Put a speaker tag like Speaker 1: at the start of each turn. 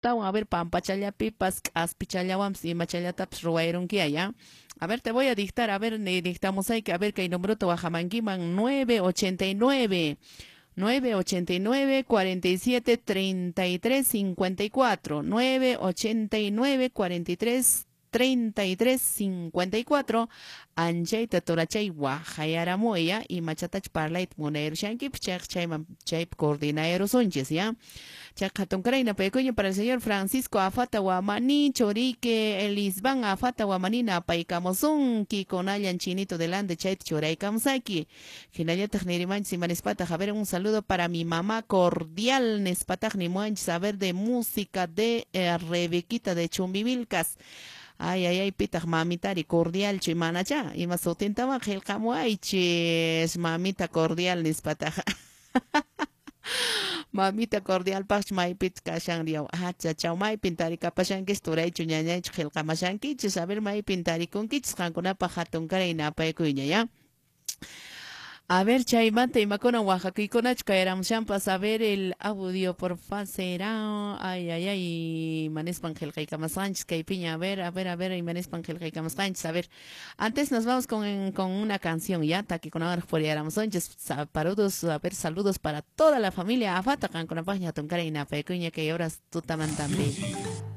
Speaker 1: Tawan, a ver, pampachallapipas, k'aspichallawanpas imachallatapas ruwayrunkiya, ya. A ver, te voy a dictar, a ver, dictamusayki, a ver, kay numerota wajamankiman 989 989 47 33 54 989 43 33 54 anchayta turachay wajayaramuy, ya, imachatach parlayta munayarushankipas chayqa chayman chaypi coordinayarusunchis, ya. Chayqa hatunkaray napaykuña para el señor Francisco Afata Wamani, churiyki Elisban Afata Wamani napaykamusunki kunallan chinito delante chayta churaykamusayki. Hinallataq nirimanchis imanispataq, a ver, un saludo para mi mamá cordial nispataq nimuwanchis, a ver, de música de Rebequita de Chumbivilcas. Ay, ay, ay, pitaq mamitari cordialchu manacha, ima sutintawan qillqamuwaychis, mamita cordial nispataq. Mamita cordial paqchu maypich kashan riyaw, achachaw maypin tarikapashankichis turaychu ñañaychu qillqamashankichis, a ver maypin tarikunkichis qankunapaq hatunkaray napaykuyña, ya. A ver, chaymanta imakuna waqakuykunachu kayaramushanpas, a ver el audio porfa será, ay, ay, ay, imanispan qillqaykamasqanchis kaypiña, a ver, a ver, a ver, imanispan qillqaykamasqanchis, a ver, antes nos vamos con una canción, ya, takikunawanraq puriyaramusunchis, saludos, a ver, saludos para toda la familia Afata, qankunapaqña hatunkaray napaykuyña kay horas tutamantampi.